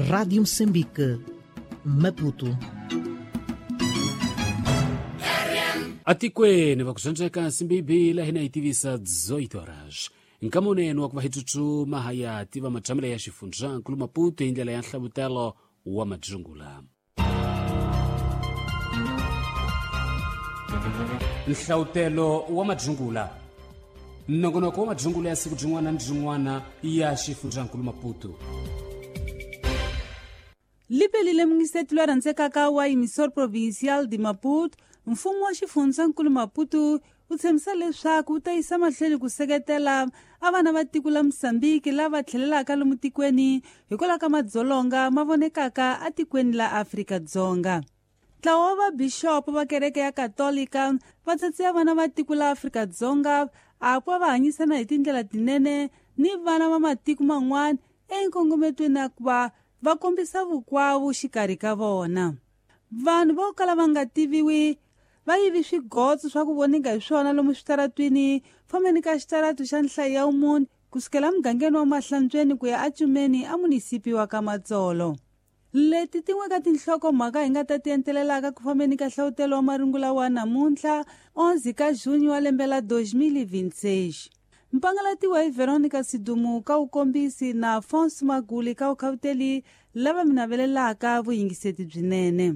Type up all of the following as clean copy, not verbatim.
Rádio Moçambique, Maputo. Atikweni vakudzondzeka nsimbi la hina yi tivisa 18 horas. Nkamuneni wa ku va hi tsutsuma haya tiva matshambele ya xifundzankulu Maputo hi ndlela ya nhlavutelo wa madzungula. Nhlavutelo wa madzungula, nongonoko wa madzungula ya siku byin'wana ni byin'wana ya xifundzankulu Maputo. Lipelile mungisetulu a rhandzekaka wa Emissor Provincial de Maputo, mfumo wa xifundzankulu Maputo wu tshembisa leswaku wu ta yisa mahlweni ku seketela a vana va tiko la Mozambique lava tlhelelaka lomu tikweni hikwalaho ka madzolonga ma vonekaka atikweni la Afrika-Dzonga. Ntlawa wa vabixopo va kereke ya Katolika va tsatsiya vana va tiko la Afrika-Dzonga a ku va va hanyisana hi tindlela tinene ni vana va matiko man'wana enkongometweni ya ku va va kombisa vukwavu xikarhi ka vona. Vanhu vo kala va nga tiviwi va yivi swigotso swa ku voninga hi swona lomu switaratwini fambeni ka xitaratu xa nhlayo ya wumune kusukela mugangeni wa Mahlantsweni ku ya eCumeni a munisipi wa ka Matsolo. Leti tin'we ka tinhlokomhaka hi nga ta ti entelelaka ku fambeni ka hlavutelo wa marungula wa namuntlha 11 ka junho wa lembe la 2026. Mpangalatiwa hi Veronica Sidumu ka wukombisi na Afonso Maguli ka wukhavuteli lava mi navelelaka vuyingiseti byinene.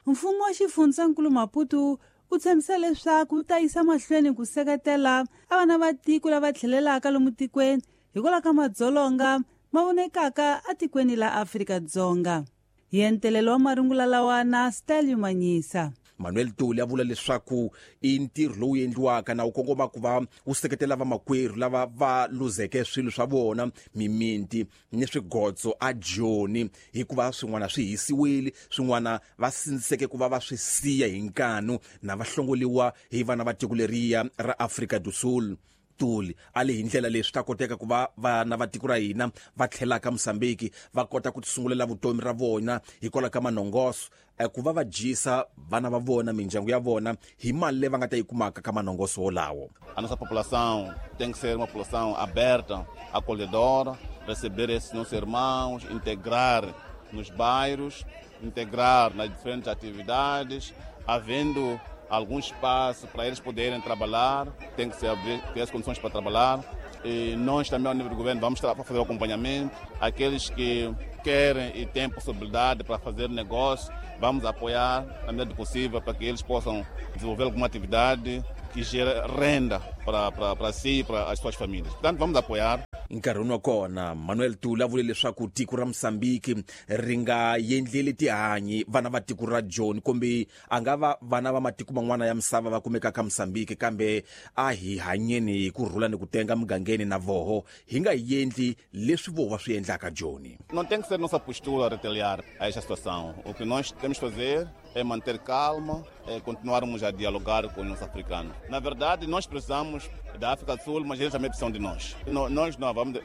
Mfumo wa xifundzankulu Maputo wu tshembisa leswaku wu ta yisa mahlweni ku seketela a vana va tiko lava tlhelelaka lomu tikweni hikwalaho ka madzolonga ma vonekaka atikweni la Afrika-Dzonga. Hi entelelo wa marungula lawa na Stelio Manyisa. Manuel Tuli a vula leswaku i ntirho lowu endliwaka na wu kongoma ku va wu seketela vamakwerhu lava va luzeke swilo swa vona, mimiti ni swigotso a Joni, hikuva swin'wana swi hisiwile, swin'wana va sindziseke ku va va swi siya hi nkanu na va hlongoliwa hi vana va tiko leriya ra Afrika do Sul. Tuli a le hi ndlela leswi ta koteka ku va vana va tiko ra hina va tlhelaka Mozambique va kota ku tisungulela vutomi ra vona hikwalaho ka manongoso, ku va va dyisa vana va vona, mindyangu ya vona hi mali leyi va nga ta yi kumaka ka manongoso wolawo. A nossa população tem que ser uma população aberta, acolhedora, receber esses nossos irmãos, integrar nos bairros, integrar nas diferentes atividades, havendo algum espaço para eles poderem trabalhar, tem que se abrir, ter as condições para trabalhar. E nós também, ao nível do governo, vamos fazer o acompanhamento. Aqueles que querem e têm possibilidade para fazer negócio, vamos apoiar na medida do possível para que eles possam desenvolver alguma atividade que gere renda para si e para as suas famílias. Portanto, vamos apoiar. Nkarhini wa kona Manuel Tuli a vule leswaku tiko ra Mozambique ri nga endleli tihanyi vana va tiko ra Joni, kumbe a nga va vana va matiko man'wana ya misava va kumekaka Mozambique, kambe a hi hanyeni hi ku rhula ni ku tenga mugangeni na voho, hi nga endli leswi vo va swi endlaka Joni. Não tem que ser nossa postura retaliar a esta situação. O que nós temos que fazer é manter calma, é continuarmos a dialogar com os nossos africanos. Na verdade, nós precisamos da África do Sul, mas eles também precisam de nós. Nós não vamos,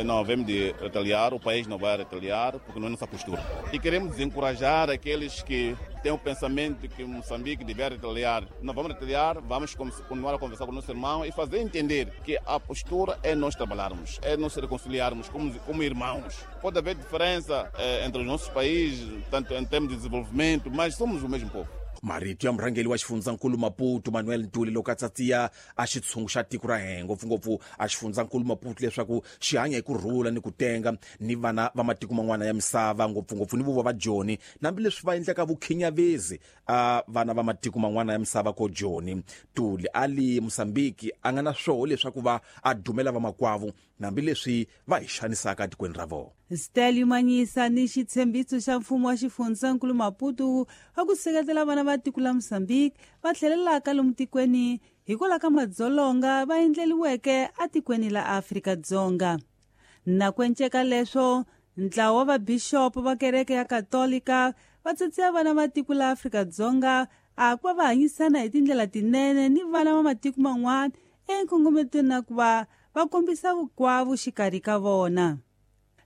não havemos de retaliar, o país não vai retaliar, porque não é nossa postura. E queremos desencorajar aqueles que têm o pensamento que Moçambique deve retaliar. Não vamos retaliar, vamos continuar a conversar com o nosso irmão e fazer entender que a postura é nós trabalharmos, é nós reconciliarmos como irmãos. Pode haver diferença entre os nossos países, tanto em termos de desenvolvimento, mas somos o mesmo povo. Marito ya murhangeri wa xifundzankulu Maputo Manuel Ntuli loko a tsatsiya a xitshungu xa tiko ra hina, ngopfungopfu a xifundzankulu Maputo, leswaku xi hanya hi ku rhula ni ku tenga ni vana va matiko man'wana ya misava, ngopfungopfu ni vo va Joni, hambileswi va endlaka vukhinyavezi a vana va matiko man'wana ya misava ko Joni. Tuli a li Mozambique a nga na swoho leswaku va a dumela vamakwavo hambileswi va hi xanisaka etikweni ra vona. Stelio Manyisa ni xitshembiso xa mfumo wa xifundzankulu Maputo a ku seketela vana va tiko la Mozambique va tlhelelaka lomu tikweni hikwalaho ka madzolonga va endleliweke atikweni la Afrika-Dzonga. Na ku enceka leswo, ntlawa wa vabixopo va kereke ya Katolika va tsatsiya vana va tiko la Afrika-Dzonga a ku va va hanyisana hi tindlela tinene ni vana va matiko man'wana enkongometweni na ku va va kombisa vukwavu xikarhi ka vona.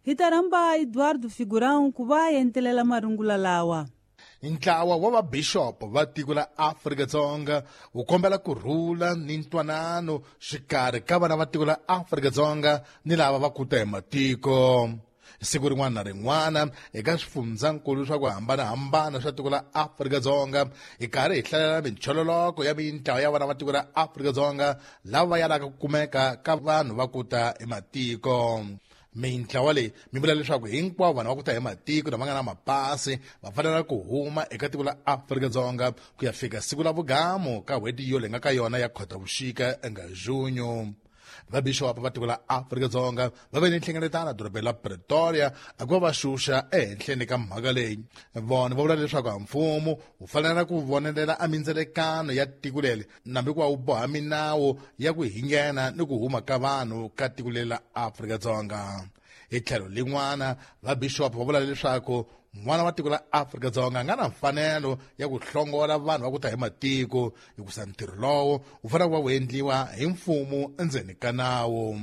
Hi ta rhamba Eduardo Figurão ku va entelela marungula lawa. Ntlawa wa vabixopo va tiko la Afrika-Dzonga wu kombela ku rhula ni ntwanano xikarhi ka vana va tiko la Afrika-Dzonga ni lava va kuta hi matiko. Siku rin'wana na rin'wana eka swifundzankulu swa ku hambanahambana swa tiko la Afrika-Dzonga hi karhi hi hlalela minchololoko ya mintlawa ya vana va tiko ra Afrika-Dzonga lava va yalaka ku kumeka ka vanhu va kuta hi matiko. Mintlawa leyi mi vula leswaku hinkwavo vanhu va ku ta hi matiko lama nga na mapasi va fanela ku huma eka tiko la Afrika-Dzonga ku ya fika siku la vugamu ka n'hweti yo leyi nga ka yona ya Khotavuxika nga Junyo. Vabixopo va tiko la Afrika-Dzonga va ve ni nhlengeletano dorobeni la Pretoria a ku va va xuxa ehenhleni ka mhaka leyi. Vona va vula leswaku mfumo wu fanela ku vonelela a mindzelekano ya tiko leri nambi ku va wu boha minawu ya ku hingena ni ku huma ka vanhu ka tiko leri la Afrika-Dzonga. Hi tlhelo lin'wana vabixopo va vula leswaku n'wana wa tiko la Afrika-Dzonga a nga na mfanelo ya ku hlongola vanhu va ku ta hi matiko hikusa ntirho lowo wu fanele ku va wu endliwa hi mfumo endzeni ka nawu.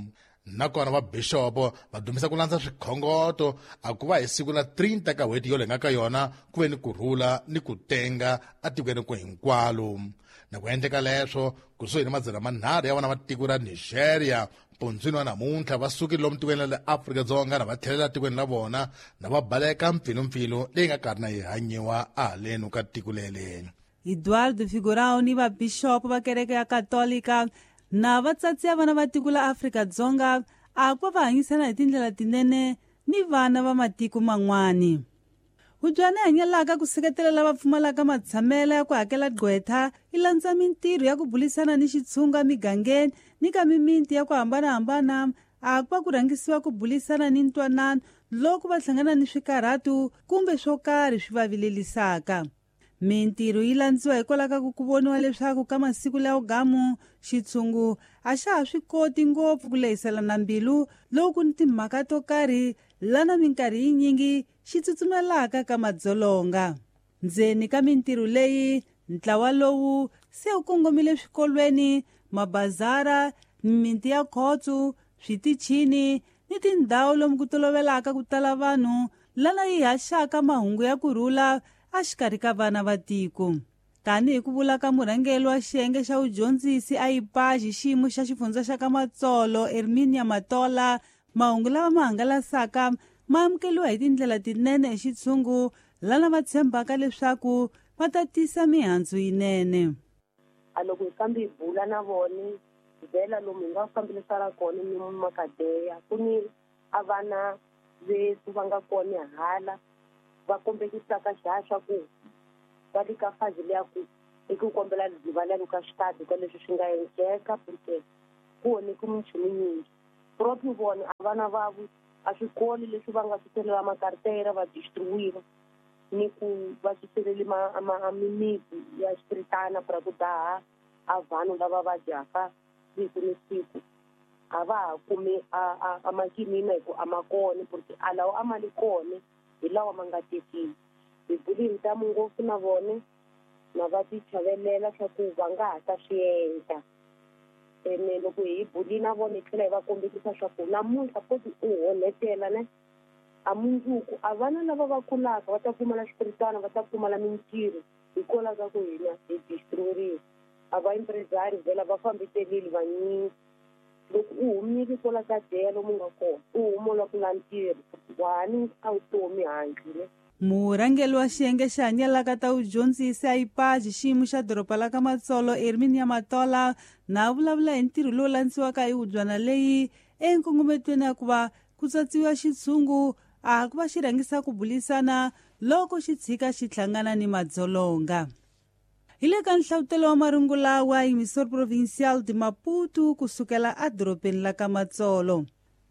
Nakona vabixopo va dumisa ku landza swikhongoto a ku va hi siku la 30 ka n'hweti yo leyi nga ka yona ku ve ni ku rhula ni ku tenga atikweni ku hinkwalo. Na ku endleka leswo kusuhi ni 300 ya vana va tiko ra Nigeria pundzwini wa namuntlha va sukile lomu tikweni la le Afrika-Dzonga na va tlhelela tikweni la vona na va baleka mpfilumpfilu leyi nga karhi na yi hanyiwa ahaleni ka tiko leri. Eduardo Figurão ni vabixopo va kereke ya Katolika na vatsatsi ya vana va tiko la Afrika-Dzonga a ku va hanyisana hi tindlela tinene ni vana va matiko man'wani. Hubyana hanyelaka ku seketela lava pfumalaka matshamelo ya ku hakela gqwetha yi landza mintirho ya ku bulisana ni xitshunga migangeni ni ka mimiti ya ku hambanahambana a ku va ku rhangisiwa ku bulisana ni ntwanano loko va hlangana ni swikarhatu kumbe swo karhi swi va vilelisaka. Mintirho yi landziwa hikwalaho ka ku voniwa leswaku ka masiku lawo gamu xitshungu a xa ha swi koti ngopfu ku lehiselana mbilu loko ku ni timhaka to karhi lana minkarhi yinyingi xi tsutsumelaka ka madzolonga. Ndzeni ka mintirho leyi ntlawa lowu se wu kongomile swikolweni, mabazara, mimiti ya khotso, switichini ni tindhawu lomu ku tolovelaka ku tala vanhu lana yi haxaka mahungu ya ku rhula exikarhi ka vana va tiko. Tanihi ku vula ka murhangeri wa xiyenge xa vudyondzisi a IPAJ xiyimo xa xifundza xa ka Matsolo Herminia Matola, mahungu lawa ma hangalasaka ma amukeriwa hi tindlela tinene hi xitshungu lana va tshembaka leswaku va ta tisa mihandzu yinene. A loko hi kambe hi bula na vona vhela lomu hi nga fambilisana kona ni makadeya ku ni a vana vetu va nga kona hala va kombekisaka xa ku va le ka fazi leya ku i ku kombela rivalelo ka xitadi ka leswi swi nga endleka porque ku oneke minchumu nyingi. Proprio vona a vana vavo a swikolo leswi va nga suselela makartera va distribuiwa ni ku va suseleli mimiti ya xipiritana pra ku daha a vanhu lava va dyaka siku ni siku a va ha kumi a makinina hi ku a ma kona porque a lawa a ma li kona hi lawa ma nga tekiwi. Hi buli hi ntamu ngopfu na vona na va ti chavelela swa ku va nga ha ta swi endla. Ene loko hi buli na vona hi tlhela hi va kombekisa swa ku namuntlha koti u honetela ne a mundzuku a vana lava va kulaka va ta pfumala xipiritana va ta pfumala mintirho hikwalaho ka ku hina hi distriburile. A va empresari vhela va fambitelile vanyingi. Loko u humile kwala ka deya lomu nga kona u humula ku la ntirho wa ni a vutomi handle ne. Murhangeri wa xiyenge xa hanyelaka ta vudyondzisi a IPAJ xiyimo xa doroba la ka Matsolo Herminia Matola na vulavula hi ntirho lowu landziwaka hi hubyana leyi enkongometweni ya ku va ku tsatsiwa xitshungu a ku va xi rhangisa ku bulisana loko xi tshika xi hlangana ni madzolonga. Hi le ka nhlavutelo wa marungula wa Emissor Provincial de Maputo kusukela edorobeni la ka Matsolo.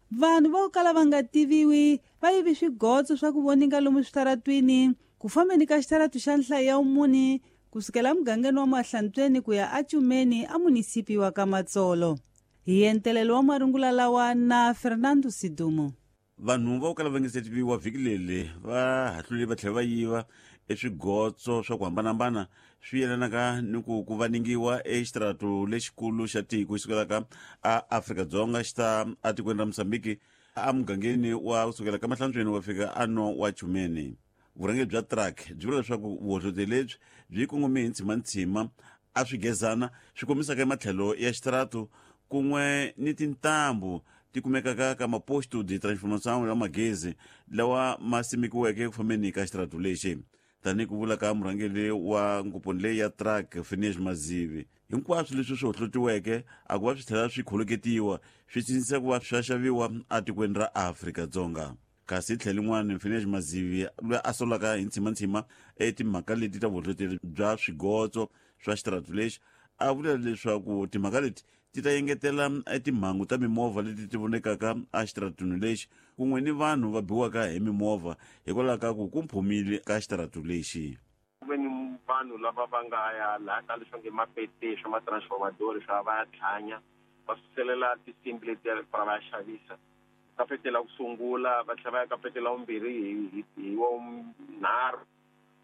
Vanhu vo kala va nga tiviwi va yivi swigotso swa ku voninga lomu switaratwini ku fambeni ka xitaratu xa nhlayo ya vumune kusukela emugangeni wa Mahlantsweni ku ya eCumeni a munisipi wa ka Matsolo. Hi entelelo wa marungula lawa na Fernando Sidumo. Vanhu vo kala va nga se tiviwa vhiki leri va hahlule va tlhela va yiva eswigotso swa ku hambanahambana swi yelanaka ni ku ku vaningiwa exitaratu lexikulu xa tiko xi sukelaka a Afrika-Dzonga xi ta etikweni ra Mozambique emugangeni wa kusukela ka Mahlantsweni wa fika ano wa Chumeni. Vurhangeri bya truck byi vula leswaku vuhohloti lebyi byi kongome hi ntshimantsima a swi gezana swi kombisaka ematlhelo ya xitaratu kun'we ni tintambu ti kumekaka ka maposto de transformação ya magezi lawa ma simekiweke ku fambeni ka xitaratu lexi. Tanihi ku vula ka murhangeri wa ngoponi leyi ya truck Phineas Mazivi, hinkwaswo leswi swi hohlotiweke a ku va swi tlhela swi kholoketiwa swi sindzisa ku va swa xaviwa etikweni ra Afrika-Dzonga. Kasi tlhelo rin'wana, Phineas Mazivi loyi a solaka hi ntshimantsima etimhaka leti ta vuhlohloteri bya swigotso swa xitaratu lexi a vula leswaku timhaka leti ti ta engetela timhangu ta mimovha leti ti vonekaka exitaratuni lexi kun'we ni vanhu va biwaka hi mimovha hikwalaho ka ku ku mphumile ka xitaratu lexi. Ku ve ni vanhu lava va nga ya laha ka leswi nge mapete swa matransformadori swa va ya tlhanya va suselela tinsimbi letiya va va ya xavisa ka pete la ku sungula va tlhela va ya ka pete la vumbirhi hi wa nharhu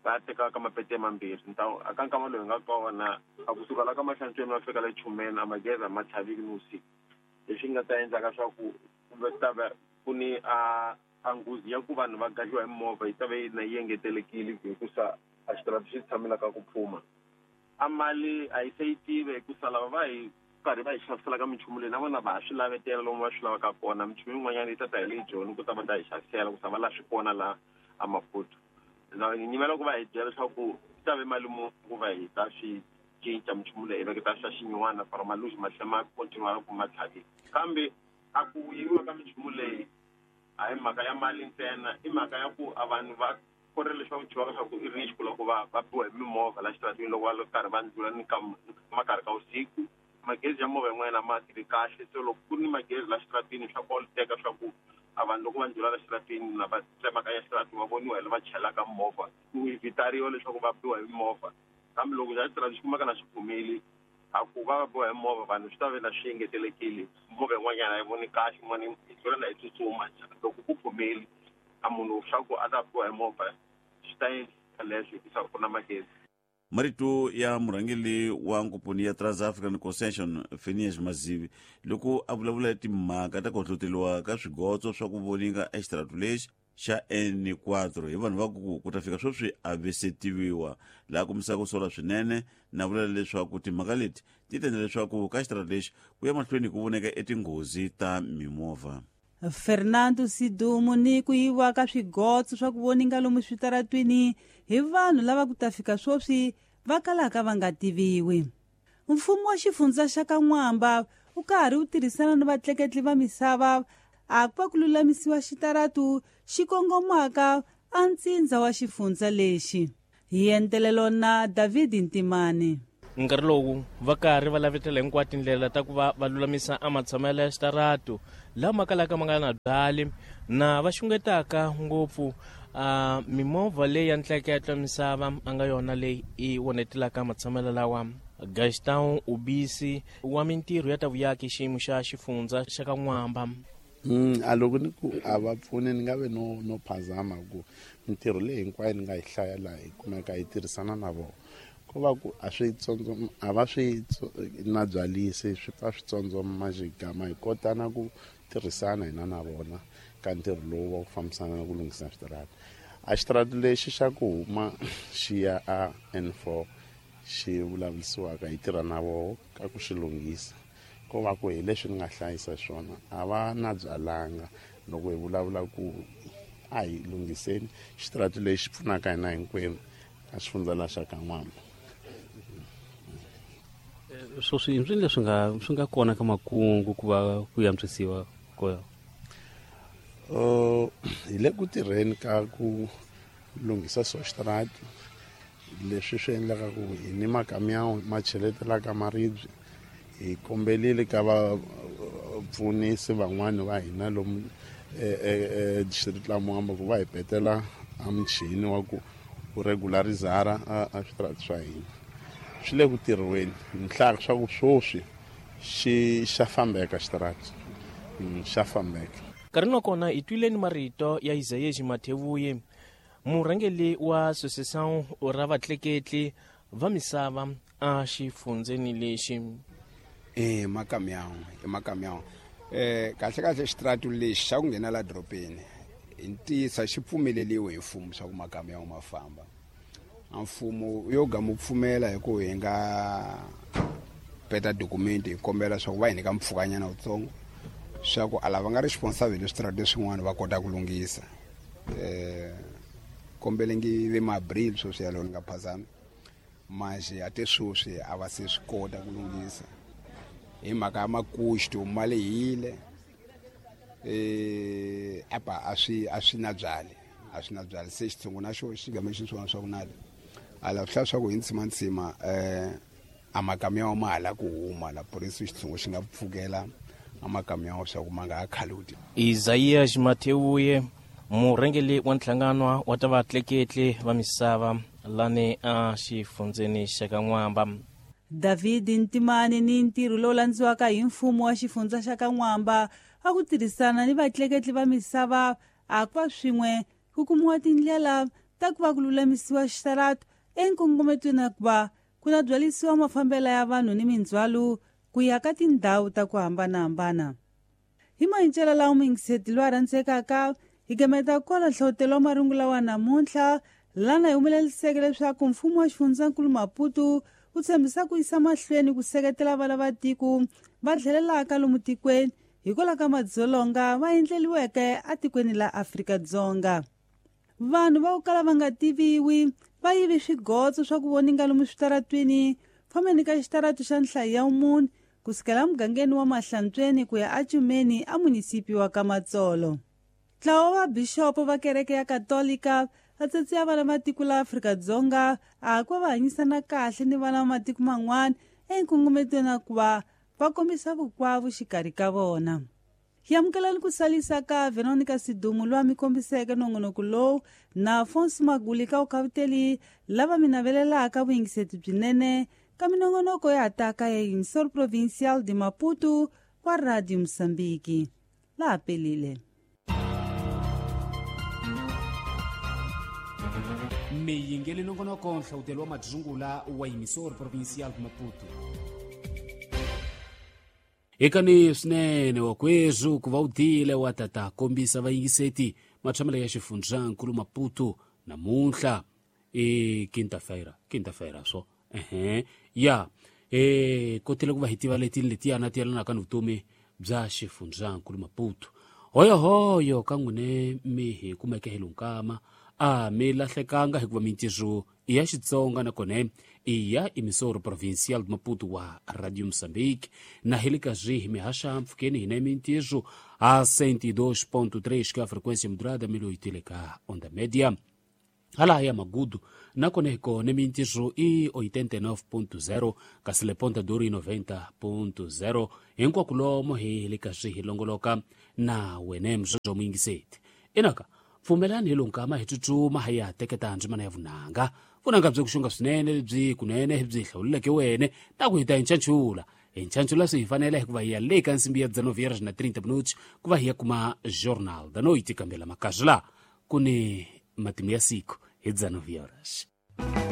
va ya teka ka mapete mambirhi. Aka nkama lowu hi nga kona a kusuka la ka Mahlantsweni va fika le Chumeni a magezi a ma tlhaviki ni vusiku, leswi nga ta endlaka swa ku kumbe ta va ku ni a nghozi ya ku vanhu va gajiwa hi mimovha yi ta va yi na yi engetelekile hikusa a xitarata xi tshamelaka ku phuma. A mali a yi se yi tive hikusa lava va hi karhi va hi xavisela ka minchumu leyi na vona va ha swi lavetela lomu va swi lavaka kona. Minchumu yin'wanyana yi ta ta hi le Joni ku ta va ta hi xavisela ku sa va la swi kona laha a Maputo. Na nyimela ku va hi byela leswaku yi ta ve mali muni ku va hi ta swi cinca minchumu leyi hi veketa swa xinyiwana for maluzi ma tlhela ma continue ku ma tlhavile. Kambe a ku yiviwa ka minchumu leyi a hi mhaka ya mali ntsena, i mhaka ya ku a vanhu va kore leswaku dyiwaka swa ku i risk loko va va biwa hi mimovha la xitaratini loko va karhi va ndlula ni ka makarhi ka vusiku. Magezi ya movha yin'wana a ma tirhi kahle, so loko ku ri ni magezi la xitaratini swa koloteka swa ku a vanhu loko va ndlula la xitaratini na va tsemakanya xitarati va voniwa hi lava chelaka movha ku evitariwa leswaku va biwa hi mimovha. Kambe loko xa xitarati xi kumeka na xi phumile a ku va va biwa hi movha vanhu swi ta ve na swi engetelekile. Movha yin'wanyana a yi voni kahle, yin'wana yi tlula na yi tsutsuma. Loko ku phumile a munhu swa ku a ta biwa hi movha swi ta endla leswo hikusa ku na magezi. Marito ya murhangeri wa ngoponi ya Trans-African Concession Phineas Mazivi loko a vulavula hi timhaka ta ku hlohloteriwa ka swigotso swa ku voninga exitaratu lexi xa N4 hi vanhu va ku ku ta fika sweswi a ve se tiviwa, laha kombisaka ku sola swinene na vula leswaku timhaka leti ti ta endla leswaku ka xitaratu lexi ku ya mahlweni ku voneka etinghozi ta mimovha. Fernando Sidumo ni ku yiviwa ka swigotso swa ku voninga lomu switaratwini hi vanhu lava ku ta fika sweswi va kalaka va nga tiviwi. Mfumo wa xifundza xa ka N'wamba wu karhi wu tirhisana ni vatleketli va misava a ku va ku lulamisiwa xitaratu xi kongomaka a ntsindza wa xifundza lexi. Hi entelelo na David Ntimani. Nkarhi lowu va karhi va lavetela hinkwato tindlela ta ku va va lulamisa a matshamelo ya xitaratu lama kalaka ma nga na byali na va xungetaka ngopfu a mimovha leyi ya ntleketlo misava a nga yona leyi i onetelaka matshamelo lawa. Gaston Ubisi wa mintirho ya ta vuyaki xiyimo xa xifundza xa ka N'wamba. A loko ni ku a va pfuni ni nga ve no phazama ku mintirho leyi hinkwayo ni nga yi hlaya laha hi kumeka hi tirhisana na vona. Ko va ku a swi tsondzo a va swi na byalisi swi pfa swi tsondzoma xigama hi kota na ku tirhisana hina na vona ka ntirho lowu wa ku fambisana na ku lunghisa switarata. A xitarata lexi xa ku huma xi ya a N4 xi vulavurisiwaka hi tirha na voho ka ku xi lunghisa. Ko va ku hi leswi ni nga hlayisa swona a va na byalanga loko hi vulavula ku a hi lunghiseni xitarata lexi pfunaka hina hinkwenu a xifundza la xa ka N'wamba. Sweswi i leswi swi nga kona ka makungu ku va ku antswisiwa ko hi le ku tirheni ka ku lunghisa swa xitarata leswi swi endlaka ku hi ni makamiyawu ma cheletelaka maribye. Hi kombelile ka vapfunisi van'wani va hina lomu district la Mwamba ku va hi petela a muchini wa ku ku regularizara a switarata swa hina. Swi le ku tirhiweni ni hlaya swa ku sweswi xi xa fambeka xitarata, xa fambeka. Nkarhi wa kona hi twile ni marito ya Isayeji Mathevuye, murhangeri wa Associação ra vatleketli va misava a xifundzeni lexi. Makamiyawu, makamiyawu. Kahle kahle xitarata lexi xa ku nghena la dorobeni Hi ntiyiso a xi pfumeleliwi hi mfumo swa ku makamiyo ma famba. A mfumo yo ga mu pfumela hi ku hi nga peta dokumenti hi kombela swa ku va hi nyika mpfhukanyana wutsongo swa ku a lava nga responsible switarata swin'wana va kota ku lunghisa. Kombelengi ve ma-abril sweswi yalowo ni nga phazami manje a te sweswi a va se swi kota ku lunghisa hi mhaka ya makuxto ma lehile. Apa a swi na byali a swi na byali se xitshungu na xo xi game xi swona swa ku nale a la swi hlaya swa ku hi ntsimantsima a makamiyo ma hala ku huma la purisi xitshungu xi nga pfukela a makamiyo swa ku ma nga ha khaluti. Isaias Mateuye murhangeri wa nhlangano wa ta vatleketli va misava lani a xifundzeni xa ka N'wamba. David Ntimani ni ntirho lowu landziwaka hi mfumo wa xifundza xa ka N'wamba a ku tirhisana ni vatleketli va misava a ku va swin'we ku kumiwa tindlela ta ku va ku lulamisiwa xitarata enkongometweni ya ku va ku na byalisiwa mafambelo ya vanhu ni mindzhwalo ku ya ka tindhawu ta ku hambanahambana. Hi mayincela lawa muyingiseti loyi a rhandzekaka hi gameta kwala nhlawutelo wa marungu lawa namuntlha lana hi humeleliseke leswaku mfumo wa xifundzankulu Maputo wu tshembisa ku yisa mahlweni ku seketela vana va tiko va tlhelelaka lomu tikweni hikwalaho ka madzolonga va endleliweke atikweni la Afrika-Dzonga. Vanhu va ku kala va nga tiviwi va yivi swigotso swa ku voninga lomu switaratwini fambeni ka xitaratu xa nhlayo ya mune kusukela mugangeni wa Mahlantsweni ku ya aCumeni a munisipi wa Kamatsolo. Ntlawa wa bixopo va kereke ya Katolika va tsetseya vana va tiko la Afrika-Dzonga a ku va hanyisana kahle ni vana va matiko man'wana enkongometweni ya ku va va kombisa vukwavu xikarhi ka vona. Hi amukelani ku salisa ka Veronica Sidumu loyi a mi kombiseke nongonoko lowu na Afonso Maguli ka vukhavuteli lava mi navelelaka vuyingiseti byinene ka minongonoko ya taka ya Emissor Provincial de Maputo wa Radio Mozambique. Laha pelile. Miyingeli nongonoko nhlawutelo wa madzungula wa Emissor Provincial de Maputo. Ekani swinene wakwezu ku va u tile wa tata kombisa vayingiseti matshamelo ya xifundzankulu Maputo namuntlha e quinta-feira swo ya kotile ku va hi tiva leti letiyana ti yelanaka ni vutomi bya xifundzankulu Maputo. Hoyohoyo ka n'wine mi hi kumeke hi lunkama a mi lahlekanga hikuva mintirho i ya Xitsonga nakona i ya Emissor Provincial de Maputo wa Radio Mozambique na hi le ka zwihi mihaxa mpfhukeni hina mintirho a 102.3 ka frequência modulada miloyi ka onda média hala ya Magudu nakona hi kona mintirho i 89.0 kasi le Ponta do Ouro i 90.0 hinkwako lomo hi le ka zwihi longoloka na wene mzwozo muyingiseti inaka pfumelani hi lunkama hi tsutsuma hi ya teketa ndzimana ya vunanga vunanga byi ku xunga swinene byi kunene byi hlawuleleke wene na ku hi ta hi nchanchula swi hi fanele hikuva hi ya le ka nsimbi ya 19:30 minutos ku va hi ya kuma Jornal da Noite kambela makazula ku ni matimu ya siku hi 19 horas.